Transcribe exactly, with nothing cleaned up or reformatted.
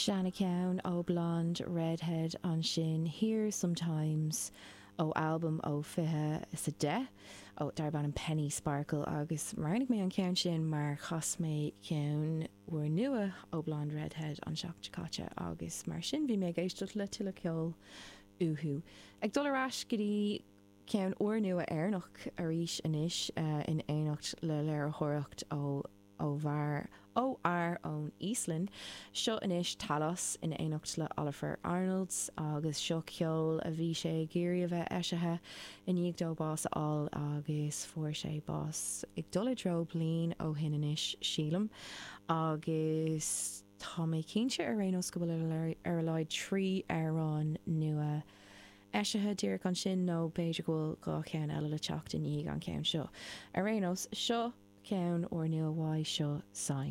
Seancheann ó Blonde Redhead ansin Here Sometimes ó albam ó fiche is a deich ó darb ainm Penny Sparkle agus roghnaigh mé an ceann sin mar chas mé ceann úrnua ó Blonde Redhead an seachtain caite agus mar sin bhí mé ag éisteacht le tuilleadh ceoil uathu. Ag dul ar ais go dtí ceann úrnua Éireannach arís anois uh, in éineacht le léiritheoireacht ó ó bhar ó ar ón Íoslainn. Seo anois Talos in éineacht le Ólafur Arnalds agus seo ceol a bhí sé ag iarraidh a bheith eisithe i ndiaidh dó bás a fháil agus fuair sé bás ag dul i dtreo bliain ó shin anois sílim agus tá mé cinnte ar aon nós go bhfuil ar a laghad trí amhrán nua eisithe díreach ansin nó b'fhéidir go bhfuil dhá cheann eile le teacht i ndiaidh an ceann seo. Ar aon nós seo ceann úrnua uaidh seo Sign.